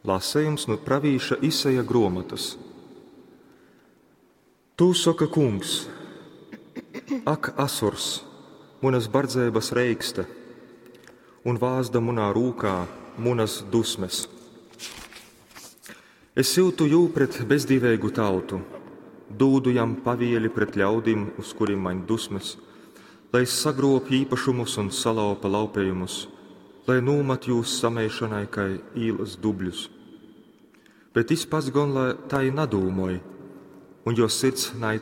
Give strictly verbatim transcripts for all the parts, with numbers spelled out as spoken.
Lasejums nu pravīša Isaja gruomotys. Tū soka Kungs: Ak, Asurs, munas bardzeibas reikste un vāzda munā rūkā munas dusmes! Es syutu jū pret bezdīveigu tautu, dūdu jam pavieli pret ļaudim, uz kurim maņ dusmes, lai sagrobj īpašumus un salaupa laupejumus, lai nūmat jūs sameišonai kai īlas dubļus. Bet jis pats gon lai tai nadūmoj, un juo sirds nai,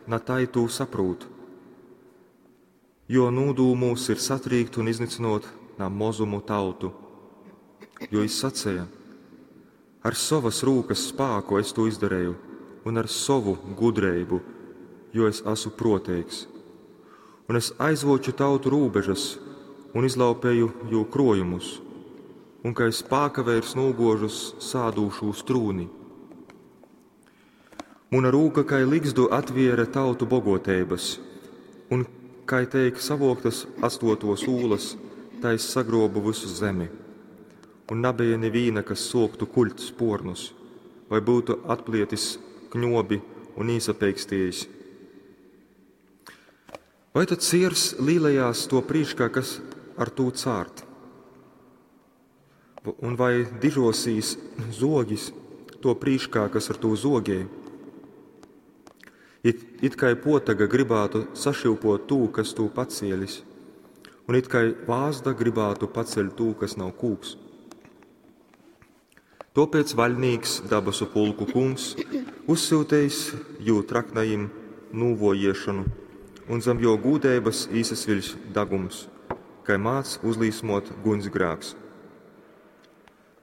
na tai tū saprūt. Jo nūdūmūs ir satrīkt un iznycynuot na mozumu tautu. Jo jis saceja: Ar sovas rūkas spāku es tū izdareju, un ar sovu gudreibu, jo es esmu proteigs. Un es aizvoču tautu rūbežas un izlaupēju jū krojumus, un kai spākaveirs nūguožu sādūšūs trūni. Muna rūka kai ligzdu atviere tautu bogoteibas, un kai teik savoktas atstotos ūlas, tai es sagrobu vysu zemi. Un nabeja nivīna, kas suoktu kuļt spuornus, vai būtu atplietis kņobi un īsapeikstiejis. Vai tad siers līlejās to prīškā, kas ar tū cārt? Un vai dižosīs zogis to prīškā, kas ar tū zogē? It, it kai potaga gribātu sašyupot tū, kas tū pacielis, un it kai vāzda gribātu paceļt tū, kas nav kūks. Tōpēc vaļnīks, dabasu pulku kungs, uzsyutejis jū traknajim nūvojiešonu, un zam jō gūdeibas īsasviļs dagums, kai mādz uzlīsmot guņsgrāks.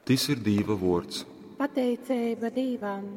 Tys ir Dīva vuords. Pateiceiba Dīvam!